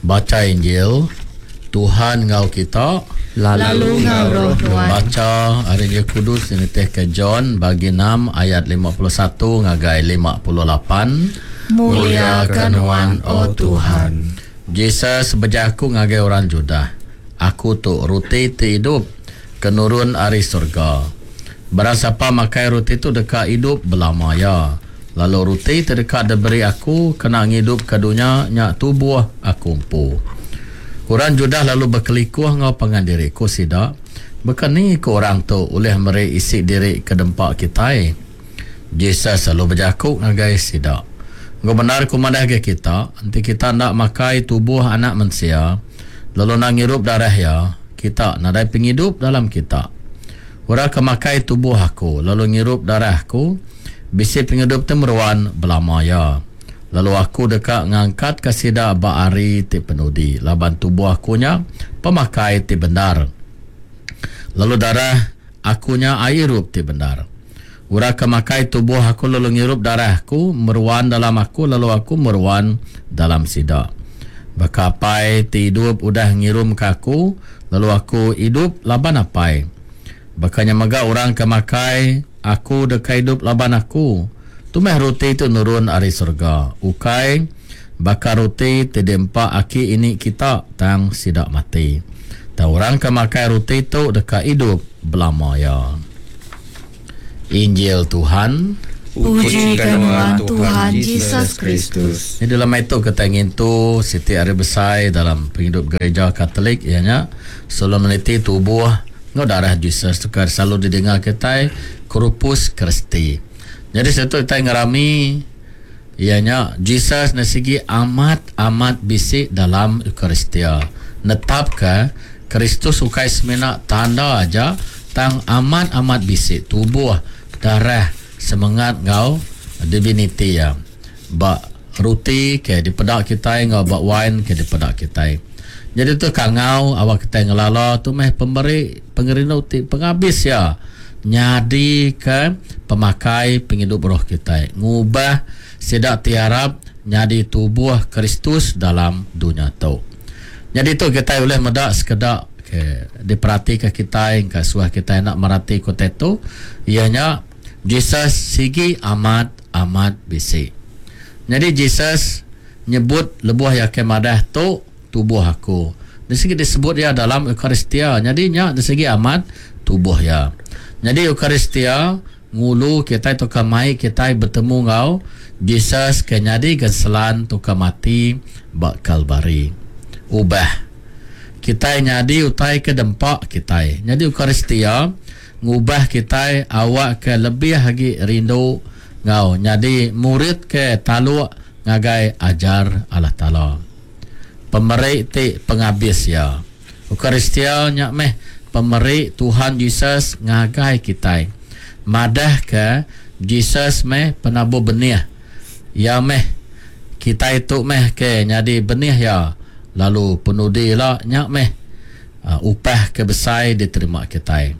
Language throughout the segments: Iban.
Bacha Injil, Tuhan enggau kita. Lalu enggau roh nuan. Bacha ari Injil Kudus nitihka John bagi 6 ayat 51 ngagai 58. Mulia ke nuan, O Tuhan. Jesus bejaku ngagai orang Judah, Aku tu ruti ti idup ke nurun ari surga. Barang sapa makai ruti tu deka idup belama iya. Lalu ruti ti deka diberi aku kena ngidupka dunya nya tubuh aku empu. Orang Judah lalu bekelikuh enggau pangan diri, ku sida, Baka ni ku orang tu ulih meri isi diri ke dempa kitai? Jesus lalu bejaku ngagai sida, Enggau bendar ku madah ngagai kita, enti kita enda makai tubuh Anak Mensia, lalu enda ngirup darah iya, kita nadai pengidup dalam kita. Orang ke makai tubuh aku lalu ngirup darah aku, bisi pengidup ti meruan belama iya. Lalu aku deka ngangkatka sida ba hari ti penudi, laban tubuh aku nya pemakai ti bendar, lalu darah aku nya ai irup ti bendar. Orang ke makai tubuh aku lalu ngirup darah aku, meruan dalam aku lalu aku meruan dalam sida. Baka Apai ti idup udah ngirumka aku, lalu aku idup laban Apai. Baka nya mega orang ke makai aku deka idup laban aku. Tu meh ruti ti nurun ari serega, ukai baka ruti ti diempa aki ini kita tang sida mati. Tang orang ke makai ruti tu deka idup belama iya. Injil Tuhan. Puji ke nuan Tuhan Jesus Kristus. Nyadi lemai tu kitai ngintu siti hari besai dalam pengidup gereja Katolik iya nya Solemniti Tubuh enggau Darah Jesus tu ke selalu didinga kitai Corpus Christi. Nyadi siti tu kitai ngerami iya nya Jesus ne sigi amat amat bisi dalam Eucharistia netapka Kristus ukai semina tanda aja tang amat amat bisi tubuh, darah, semengat enggau diviniti iya ba ruti ke dipeda kitai enggau ba wain ke dipeda kitai. Nyadi tu kangau awak kitai ngelala tu meh pemeri pengerindu ti pengabis iya nyadika pemakai pengidup roh kitai ngubah sida ti arap nyadi tubuh Kristus dalam dunya tu. Nyadi tu kitai ulih meda sekeda ke diperatika kitai engka suah kitai enda meratika utai tu iya nya Jesus sigi amat amat bisi. Nyadi Jesus nyebut lebuh iya ke madah tu tubuh aku. Nya sigi disebut iya dalam Eucharistia nyadi nya sigi amat tubuh iya. Nyadi Eucharistia ngulu kitai tauka mai kitai betemu enggau Jesus ke nyadi genselan tauka mati ba Kalvari. Ubah kitai nyadi utai ke dempa kitai. Nyadi Eucharistia ngubah kitai awakka lebih agi rindu enggau nyadi murid ke taluk ngagai ajar Allah Taala. Pemeri ti pengabis iya. Eucharistia nya meh pemeri Tuhan Jesus ngagai kitai. Madahka Jesus meh penabur benih. Iya meh kitai tu meh ke nyadi benih iya lalu penudi ila nya meh upah ke besai diterima kitai.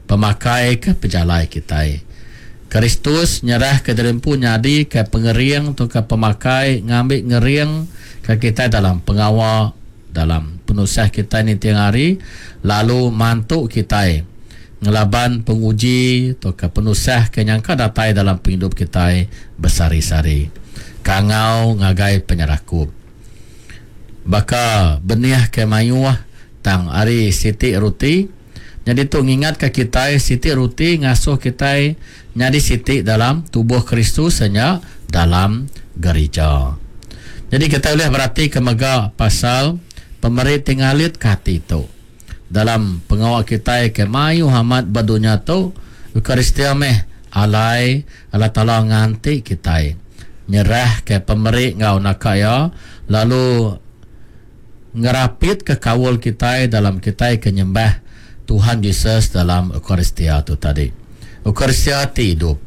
Pemakai ke pejalai kitai. Kristus nyerahka diri empu nyadika pengering tauka pemakai ngambi ngeringka kitai dalam pengawa dalam penusah kitai ninting hari lalu mantu kitai ngelaban penguji tauka penusah ke nyangka datai dalam pengidup kitai besehari-sehari. Kangau ngagai penyerakup. Baka benih ke mayuh tang ari siti ruti, nyadi tu ngingatka kitai siti ruti ngasuh kitai nyadi siti dalam tubuh Kristus iya nya dalam gerija. Nyadi kitai ulih beratika mega pasal pemeri ti ngalitka ati tu. Dalam pengawa kitai ke mayuh amat ba dunya tu, Eucharistia meh alai Allah Taala nganti kitai nyerahka pemeri enggau naka iya lalu ngerapitka kaul kitai dalam kitai ke nyembah Tuhan Jesus dalam Eucharistia tu tadi. Eucharistia ti idup.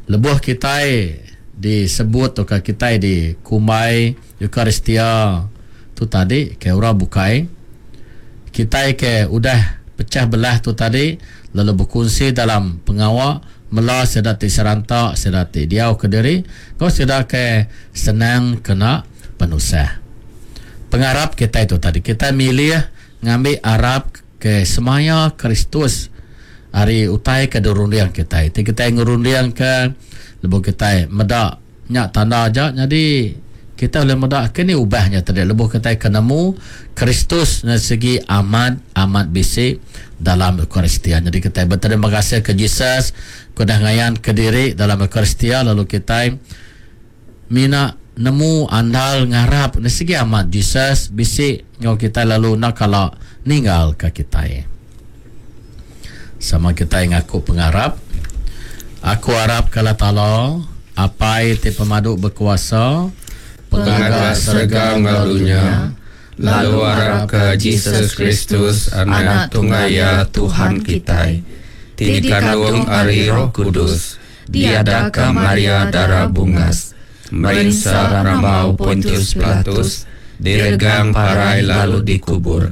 Lebuh kitai disebut tauka kitai dikumbai Eucharistia tu tadi ke orang bukai, kitai ke udah pecah belah tu tadi lalu bekunsi dalam pengawa mela sida ti seranta, sida ti diau kediri enggau sida ke senang kena penusah. Pengarap kitai tu tadi kitai milih ngambi arap ke semaya Kristus ari utai ke dirunding kitai. Ti kitai ngerunding ke lebuh kitai meda nya tanda aja nyadi kitai ulih meda ke ni ubah nya tadi lebuh kitai ke nemu Kristus nya sigi amat amat bisi dalam Eucharistia. Nyadi kitai beterima kasih ke Jesus ke udah ngayan ke diri dalam Eucharistia lalu kitai mina nemu andal ngarap nya sigi amat Jesus bisi enggau kitai lalu enda kala ninggal ka kitai. Sama kitai ngaku pengarap. Aku arap ke Allah Taala, Apai ti pemadu bekuasa, Pengaga serega enggau dunya, lalu arap ke Jesus Kristus, Anak Tunggal Iya Tuhan kitai, ti dikandung ari Roh Kudus, diadaka Maria Dara Bungas, merinsa rambau Pontius Pilatus, diregang parai lalu dikubur.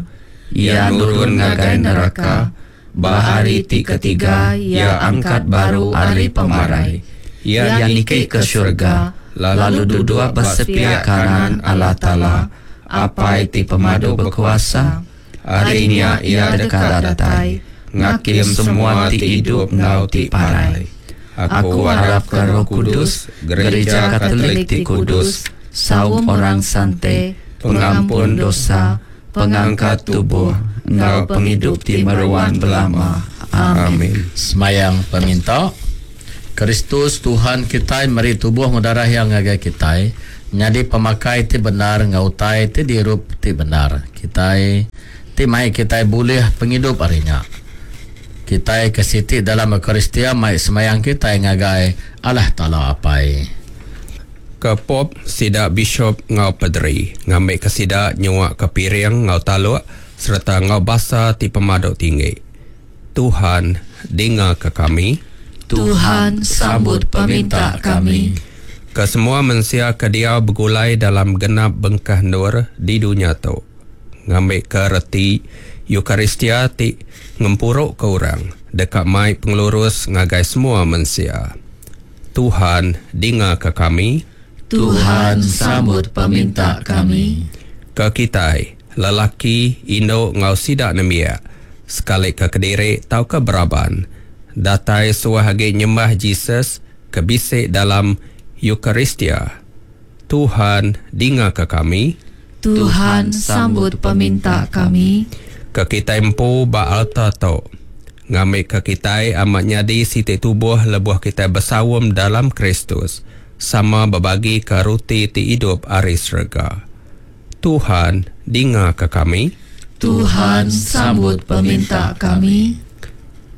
Iya nurun ngagai neraka. Ba hari ti ketiga, Iya angkat baru ari pemarai. Iya niki ke surga, lalu duduk ba sepiak kanan Allah Taala, Apai ti Pemadu Bekuasa. Ari nya Iya deka datai, ngakim semua ti idup enggau ti parai. Aku arapka Roh Kudus, Gerija Katolik ti kudus, saum orang sante, pengampun dosa, pengangkat tubuh, enggau pengidup ti meruan belama. Amin. Semayang peminta. Kristus Tuhan kitai meri tubuh enggau darah Iya ngagai kitai nyadi pemakai ti bendar enggau utai ti diirup ti bendar kitai ti mai kitai bulih pengidup ari nya. Kitai ke siti dalam Eucharistia mai semayang kitai ngagai Allah Taala Apai. Ke Pope, sida bishop enggau pederi, ngambika sida nyuaka piring enggau taluk sereta enggau basa ti pemadu tinggi. Tuhan, dingaka kami. Tuhan, sambut peminta kami. Ke semua mensia ke diau begulai dalam genap bengkah endur di dunya tu, ngambika reti Eucharistia ti ngempuruka orang deka mai pengelurus ngagai semua mensia. Tuhan, dingaka kami. Tuhan, sambut peminta kami. Ke kitai, lelaki, indu enggau sida nembiak, sekalika kediri tauka beraban, datai suah agi nyembah Jesus ke bisi dalam Eucharistia. Tuhan, dingaka kami. Tuhan, sambut peminta kami. Ke kitai empu ba alta tu, ngambika kitai amat nyadi siti tubuh lebuh kitai besaum dalam Kristus, sama bebagika ruti ti idup ari serega. Tuhan, dingaka kami. Tuhan, sambut peminta kami.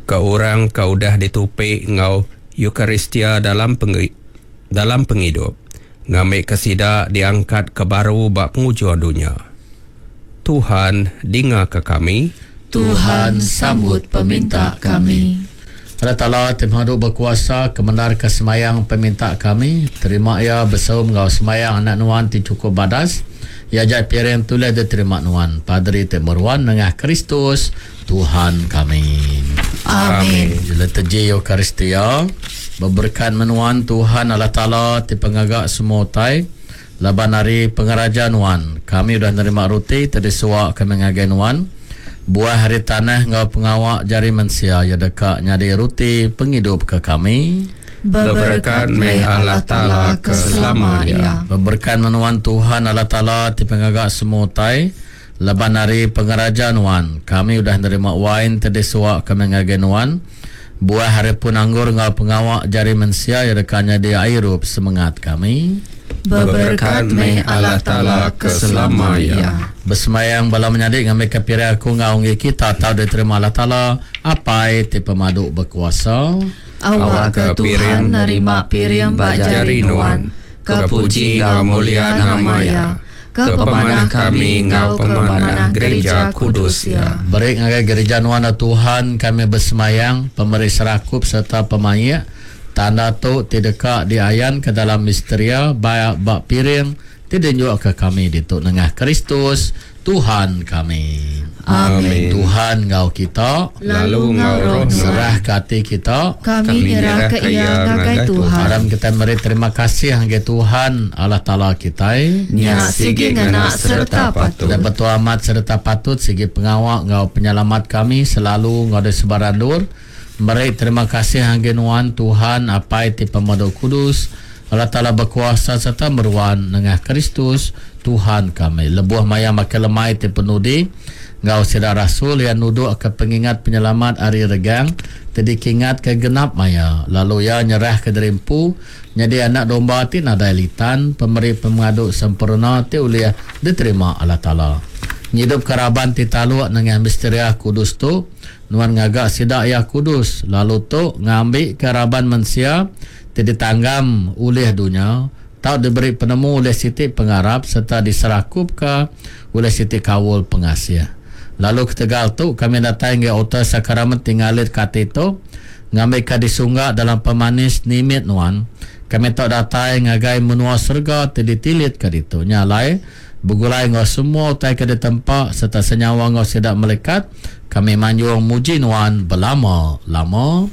Ke orang ke udah ditupi enggau Eucharistia dalam dalam pengidup, ngambika sida diangkatka baru ba pengujung dunya. Tuhan, dingaka kami. Tuhan, sambut peminta kami. Allah Taala ti Pemadu Bekuasa, kemendarka semayang peminta kami, terima iya besaum enggau semayang Anak Nuan ti chukup badas, iya aja piring tulih diterima Nuan, Padri ti meruan nengah Kristus, Tuhan kami. Amin. Liturgi Eucharistia, Beberekat meh nuan Tuhan Allah Taala ti pengaga semua utai, laban ari pengeraja nuan kami udah nerima ruti ti disua kami ngagai nuan, buah ari tanah enggau pengawa jari mensia iya deka nyadi ruti pengidup ke kami. Beberekat meh Allah Taala ke selama iya. Beberekat meh nuan Tuhan Allah Taala ti pengaga semua utai, Laban ari pengeraja nuan, kami udah nerima wain ti disua kami ngagai nuan, buah ari pun anggur enggau pengawa jari mensia iya deka nyadi airup semengat kami. Beberekat meh Allah Taala ke selama iya. Besembayang bala menyadi ngambika piring aku enggau enggi kita tau diterima Allah Taala, Apai ti pemadu bekuasa. Awakka Tuhan nerima piring ba jari nuan, ke puji enggau mulia nama Iya. Ke pemanah kami enggau pemanah Gerija Kudus Iya. Beri ngagai gerija nuan, O Tuhan, kami besemayang, pemeri serakup sereta pemaik, tanda tu ti deka diayanka dalam misteria ba ba piring ti dienjukka kami ditu nengah Kristus Tuhan kami. Amin. Tuhan enggau kita. Lalu enggau roh nuan. Serahka ati kita. Kami nyerahka iya ngagai Tuhan. Aram kitai meri terima kasih ngagai Tuhan Allah Taala kitai. Nya sigi ngena sereta patut. Dan betul amat sereta patut sigi pengawa enggau penyelamat kami selalu enggau di sebarang endur. Meri terima kasih ngagai nuan Tuhan Apai ti Pemadu Kudus, Allah Taala bekuasa sereta meruan nengah Kristus Tuhan kami. Lebuh maya makai lemai ti penudi enggau sida rasul iya nudukka pengingat penyelamat ari regang ti dikingatka genap maya lalu iya nyerahka diri empu nyadi anak domba ti nadai litan pemeri pemengadu sempurna ti ulih diterima Allah Taala. Ngidupka raban ti taluk nengah misteria kudus tu, nuan ngaga sida iya kudus lalu tu ngambika raban mensia ti ditanggam ulih dunya, tau diberi penemu ulih siti pengarap sereta diserakupka ulih siti kaul pengasih. Lalu ketegal tu, kami datai ngagai altar sakramen ti ngalitka ati tu, ngambika disungga dalam pemanis nimit nuan, kami tau datai ngagai menua serega ti ditilitka ditu. Nya alai, begulai enggau semua utai ke ditempa sereta senyawa enggau sida melikat, kami manjung muji nuan belama-lama.